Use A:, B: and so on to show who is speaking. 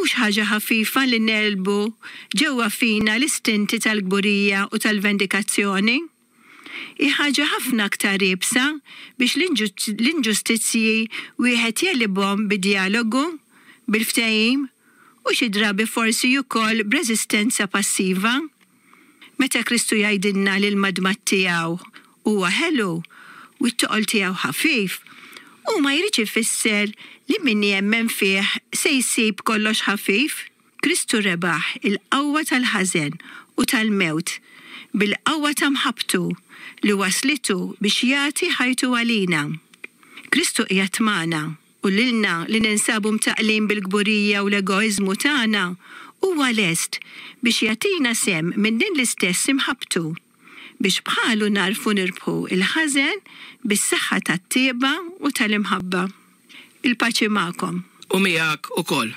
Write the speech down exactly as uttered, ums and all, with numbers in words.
A: Mhux ħaġa ħafifa li negħlbu ġewwa fina l-istinti tal-kburija u tal-vendikazzjoni. Hi ħaġa ħafna aktar iebsa biex l-inġustizzji wieħed jegħlibhom bid-djalogu, bil-ftehim u xi drabi forsi wkoll b'reżistenza passiva. Meta Kristu jgħidilna li l-madmad tiegħu huwa ħelu u t-toqol tiegħu ħafif, hu ma jridx ifisser li min jemmen fih se jsib kollox ħafif. Kristu rebaħ il-qawwa tal-ħażen u tal-mewt bil-qawwa ta' mħabbtu li waslitu biex jagħti ħajtu għalina. Kristu qiegħed magħna u lilna li ninsabu mtaqqlin bil-kburija u l-egoiżmu tagħna huwa lest biex jagħtina sehem minn din l-istess imħabbtu biex bħalu nagħrfu nirbħu il-ħażen bis-saħħa tat-tjieba u tal-imħabba. Il-paċi magħkom.
B: U miegħek ukoll.